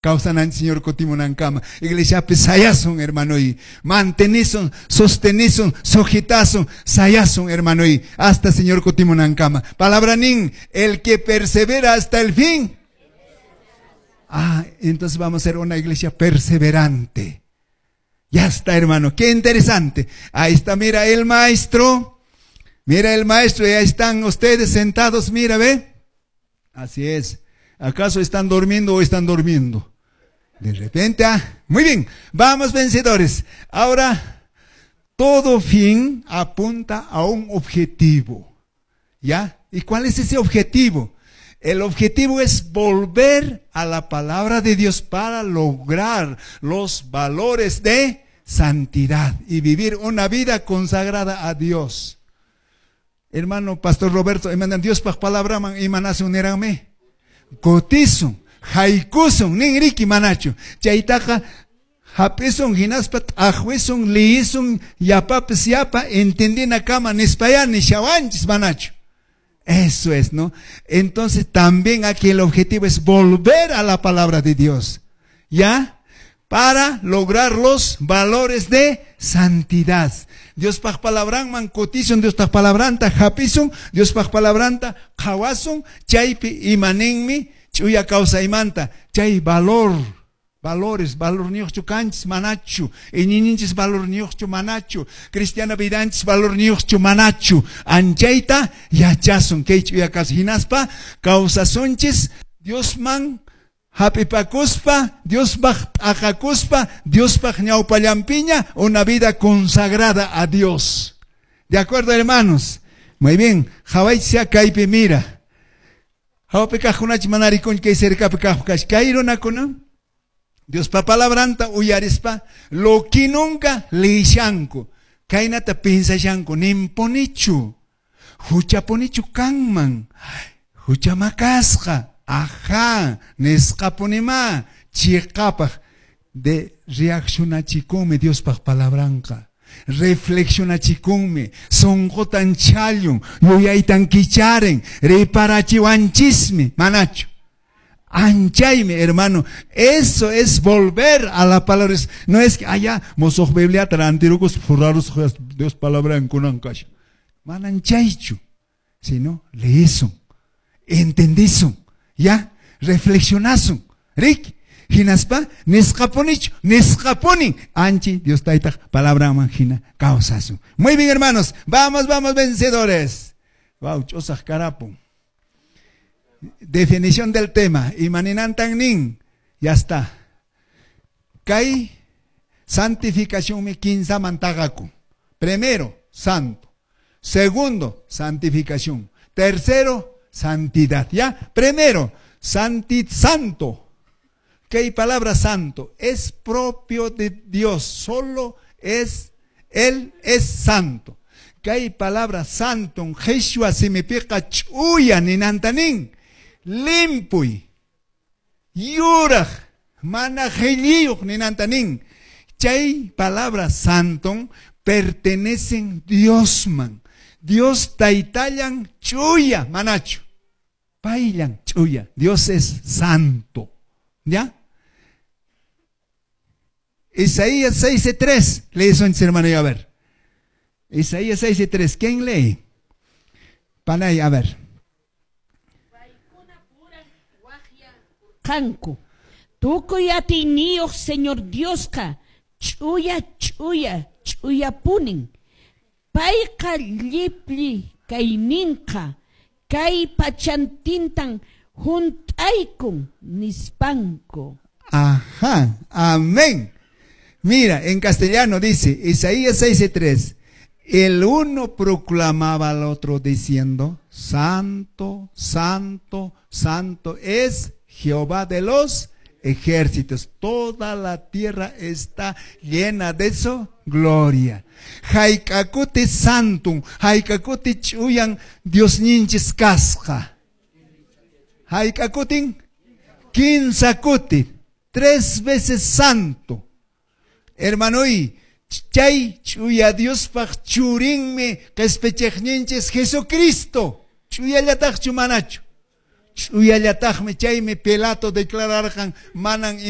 Kawsananchis Señor kutimunankama. Iglesiapi sayasun, hermanoy. Mantenisun, sostenisun, sujetasun, sayasun, hermanoy. Hasta Señor kutimunankama. Palabra nin, el que persevera hasta el fin. Ah, entonces vamos a ser una iglesia perseverante. Ya está, hermano. Qué interesante. Ahí está, mira el maestro. Mira el maestro, y ahí están ustedes sentados, mira, ve. Así es. ¿Acaso están durmiendo o están durmiendo? De repente, ah, muy bien, vamos, vencedores. Ahora, todo fin apunta a un objetivo. ¿Ya? ¿Y cuál es ese objetivo? El objetivo es volver a la palabra de Dios para lograr los valores de santidad y vivir una vida consagrada a Dios. Hermano Pastor Roberto, Diospaq palabraman imanasun nirqanmi. Kutisun, haykusun, nin riki, manachu? Chaytaqa hap'isun hinaspa t'aqwisun, liyisun yapapis yapa entendinakama nispayá nishawanchis, manachu? Eso es, ¿no? Entonces también aquí el objetivo es volver a la palabra de Dios, ¿ya? Para lograr los valores de santidad. Diospaq palabranman kutisun, Diospaq palabranta hapisun, Diospaq palabranta qhawasun, chaypi imaninmi ch'uya kawsaymanta, chay valor, valores, valorniyuqchu kanchis, manachu? Iñiyninchis valorniyuqchu, manachu? Cristiana vidanchis valorniyuqchu, manachu? Anchayta yachasun kay ch'uya kawsay hinaspa kawsasunchis Diosman hap'ipakuspa, Diospaq t'aqakuspa, Diospaq ñawpallanpiña, una vida consagrada a Dios. ¿De acuerdo, hermanos? Muy bien, qhawaychis kaypi, mira. Hawapi kaqkunachi mana rikunchu, kay cercapi kaq kash. Kay runakuna Diospa palabranta uyarispa lokinunka liyishanku. Kaynata piensashanku, nimpunichu. Huchapunichu kanman. Huchama kasqa. Ajá, nisqapunimá chiqapaq de reaccionachikunmi Diospaq palabranqa. Reflexionachikunmi, sunqutan challun, yuyaytan kicharen, reparachiwanchismi, manachu? Anchaymi, hermano. Eso es volver a la palabra. No es que allá, mosoq Bibliata rantirukus furrarus Dios palabra kunan kasha. Manan chaychu, sino leyisun, entendisun, ya, reflexionasun. Rik, hinaspa nisqapunichu, nisqapuni anchi Dios taytaq palabranman hina kawsasun. Muy bien, hermanos, vamos, vamos, vencedores. Wow, ch'usaq karapun. Definición del tema. Imaninantan nin. Ya está. Kay santificación mi kinsaman t'aqakun. Primero, santo. Segundo, santificación. Tercero, santidad. ¿Ya? Primero, santo. ¿Qué palabra santo? Es propio de Dios. Solo es, Él es santo. Kay palabra santo, qhichwa simipiqa ch'uya ninantanin. Limpuy. Yuraq. Mana qhilliyuq ninantanin. Chay palabra santo pertenecen Diosman. Dios taytallan ch'uya, manachu? Payllan ch'uya. Dios es santo. ¿Ya? Isaías 6:3. Lees, hermano, y a ver. Isaías 6:3. ¿Quién lee? Panay, a ver. Kanku. Tukuy atiyniyuq Señor Diosqa ch'uya, ch'uya, ch'uyapunin. Payqa llipli kayninqa kay pachantintan hunt'aykun nispanku. Ajá, amén. Mira, en castellano dice, Isaías 6:3, el uno proclamaba al otro diciendo: "Santo, santo, santo es Jehová de los ejércitos. Toda la tierra está llena de su gloria". Hayka kuti santum, hayka kuti ch'uyan Diosninchis kasqa? Hayka kutin? Kinsa kuti, tres veces santo. Hermanoy, chay ch'uya Diospaq churinmi qespichiqninchis Jesucristo. Ch'uyallataqchu, manachu? Ch'uyallataqmi. Chaymi Pilato declararqan manan ima.